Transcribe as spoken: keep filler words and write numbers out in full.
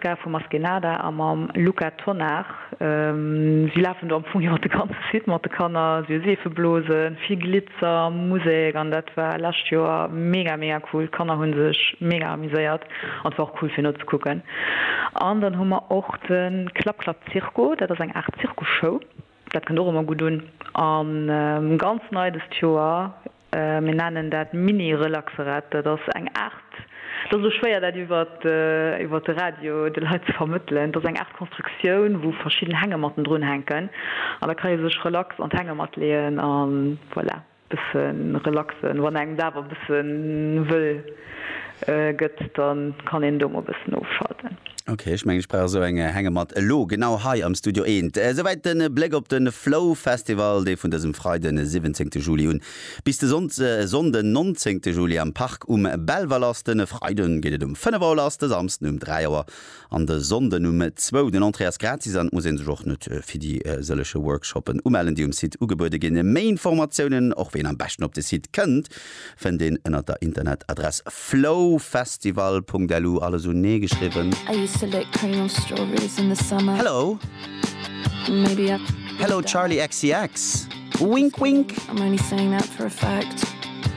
Vu Maskenada a mam Luca Tonnar. Si lafen do am Fong iwwer de ganze Site mat de Kanner, si hu Seefeblosen, vill Glitzer, Musek an dat war lescht Joer mega mega cool. D'Kanner hu sech mega amuséiert an et war och cool fir nozekucken. An dann hu mer och de Klapp Klapp Zirko, dat ass eng Aart Zirkusshow, dat kënnt och ëmmer gutt un. An ganz nei dëst Joer, mir nennen dat Mini-Relaxerette, dat ass eng Aart, et ass elo schwéier dat iwwert iwwert de Radio de Leit ze vermëttelen, et ass eng Aart Konstruktioun, wou verschidden Hängematten drun hänken an da ka ee sech relax an d'Hängematt leeën a voilà, bësse relaxen. Wann engem et awer e bësse wëll gëtt, da kann een do mol e bëssen ofschalten. Ok, ech mengen ech brauch esou eng Hängematt elo genau hei am Studio eent. Esouwäit de Bléck op de Flow Festival, dee vun dësem Freiden, siwwenzéngte Juli un bis de Sonnden, nonzéngte Juli am Park um Belval ass. De Freiden geet et um fënnef Auer lass, de Samsden um dräi Auer an de Sonnden um zwou. Den Entrée ass gratis an et muss ee sech och net fir déi sëllege Workshoppen umellen, déi um Site ugebuede ginn. Méi Informatiounen, och wéi een am beschten op de Site kënnt, fënnt een ënnert der Internetadress flowfestival.lu, alles unee geschriwwen. Hello Hello Charli XCX Wink wink. I'm only saying that for effect.